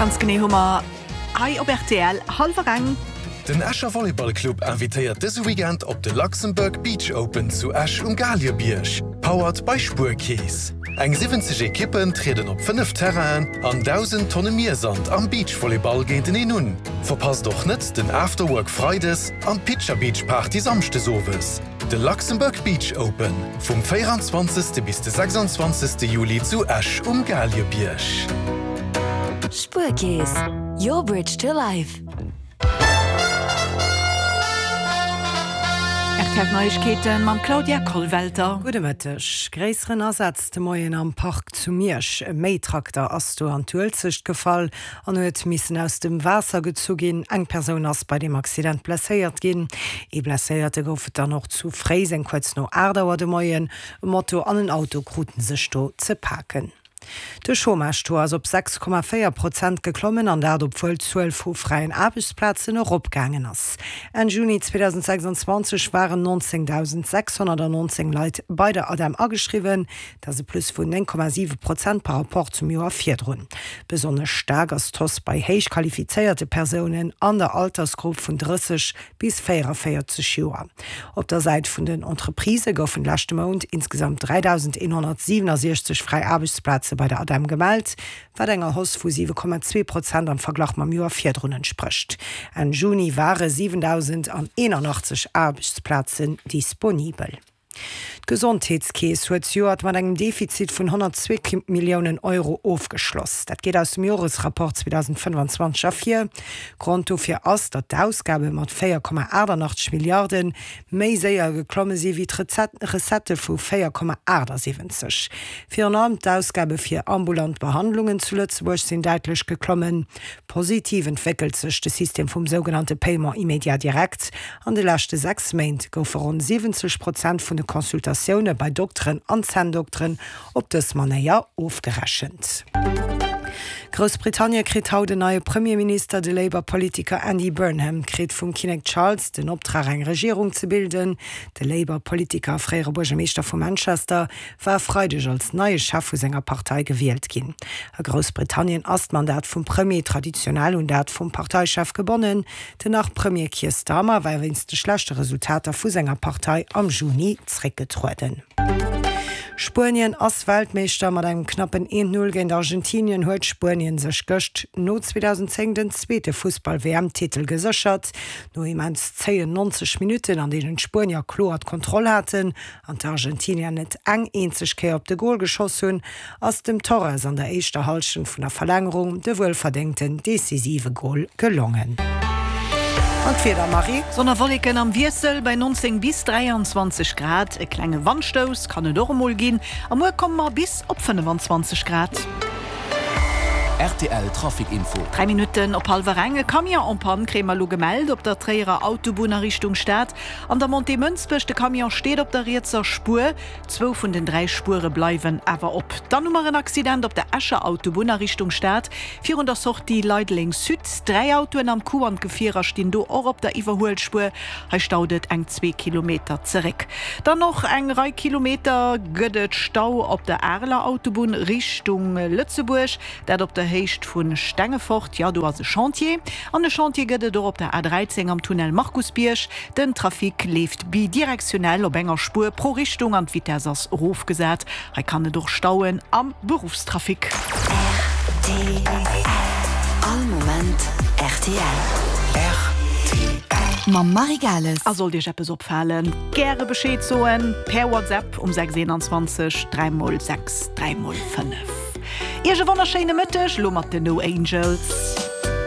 Ganz genee hu mer hei op rtl hallwer eng. Den Escher Volleyball Club invitéiert dëse Weekend op de Luxembourg Beach Open zu Esch um Galiebierg, powered by Spuerkeess. Eng 70 Ekippen trieden op 5 Terrainen an 1.000 Tonne Miersand am Beachvolleyball géinteneen un. Verpasst och net den Afterwork Freides an d'Pitcher Beach Party Samschdes owes. De Luxembourg Beach Open vum 24. Bis de 26. Juli zu Esch um Galiebierg. Spuerkeess, your bridge to life. Rtl Neiegkeeten mam Claudia Kollwelter. Gudde Mëtteg. Gréisseren Asaz de Moien am Park zu Miersch. E Méitrakter ass do an d'Uelzecht gefall an huet missen aus dem Waasser gezu ginn. Eng Persoun ass bei deem Accident blesséiert ginn. Ee Blesséierte gouf et dann och zu Fréiseng kuerz no 8 Auer de Moien. E Moto an en Auto kruten sech do ze paken. De Chômage-Taux ass op 6,4 Prozent geklommen, an dat obwuel d'Zuel vu fräien Aarbechtsplazen eropgaangen ass. Enn Juni 2026 waren 19.619 Leit bei der ADEM ageschriwwen. Dat ass e Plus vun 9,7 Prozent par Rapport zum Joer virdrun. Besonnesch staark ass d'Hausse bei héich qualifizéierte Persounen an der Altersgrupp vun 30 bis 44 Joer. Op der Säit vun den Entreprisë goufen leschte Mount insgesamt 3.167 fräi Aarbechtsplaze bei der ADEM gemellt, wat enger Hausse vu 7,2 Prozent am Verglach mam Joer virdrun entsprécht. Enn Juni ware 7.081 Aarbechtsplazen disponibel. D'Gesondheetskeess huet zejoert mat engem Defizit vun 102 Milliounen Euro ofgeschloss. Dat geet aus dem Joresrapport 2025 ervir. Grond dofir ass, datt d'Ausgabe mat 4,88 Milliarde méi séier geklomme si wéi d'Recettë vu 4,78. Virun allem d'Ausgabe fir ambulant Behandlungen zu Lëtzebuerg sinn däitlech geklommen. Positiv entwéckelt sech de System vum sougenannte Paiement immédiat direct. An de leschte 6 Méint goufe ronn 70 Prozent vun de Consultatioune bei Dokteren an Zänndokteren op dës Manéier ofgerechent. Groussbritannie kritt haut en neie Premierminister. De Labour-Politiker Andy Burnham kritt vum Kinnek Charles den Optrag eng Regierung ze bilden. De Labour-Politiker a fréiere Buergermeeschter vu Manchester war e Freideg als neie Chef vu senger Partei gewielt ginn. A Groussbritannien ass d'Mandat vum Premier traditionell un dat vum Parteichef gebonnen. Den Nach-Premier Keir Starmer war wéinst de schlechte Resultater vu senger Partei am Juni zréckgetrueden. Spuenien ass Weltmeeschter. Mat engem knappen 1, 0 géint Argentinien huet Spuenien sech gëscht no 2010 den zweete Fussball-WM-Titel geséchert. No immens zéien 90 Minutten, an deenen d'Spuenier kloer d'Kontroll haten, an d'Argentinier net eng eenzeg Kéier op de Gol geschoss hunn, ass dem Torres an der éischter Hallschent vun der Verlängerung de wuelverdéngten decisive Gol gelongen. An d'Wieder, Marie? Sonn a Wolleken am Wiessel bei 19 bis 23 Grad. E klenge Wandstouss kann et och emol ginn a muer komme mer bis op 25 Grad. Rtl Trafic Info. 3 Minutten op hallwer eng, E Camion en panne kréie mer elo gemellt op der Tréierer Autobunn a Richtung Stad. An der Montée Mënsbech, de Camion steet op der rietser Spuer. Zwou vun den 3 Spuere bleiwen awer op. Dann hu mer en Accident op der Escher Autobunn a Richtung Stad, virun der Sortie Leideleng Sud. 3 Autoen am Coup an d'Gefierer stinn do och op der Iwwerhuelspuer. Hei staut et eng zwee Kilometer zeréck. Dann och eng Rei Kilometer gëtt et Stau op der Areler Autobunn Richtung Lëtzebuerg. Dat op der Héicht vu Stengefort, jo do ass e Chantier. An e Chantier gëtt et och op der A13 am Tunnel Markusbierg. Den Trafic leeft bidirektionell op enger Spuer pro Richtung an d'Vitess ass erofgesat. Hei kann et och stauen am Beruffstrafic. Rtl, All Moment rtl. Rtl. Mam Marie Gales. A sollt Iech eppes opfalen, gäre Bescheed soen per WhatsApp um 6 21 3 x 6 3 x 5. Iech e wonnerschéine Mëtteg, lo mat den No Angels.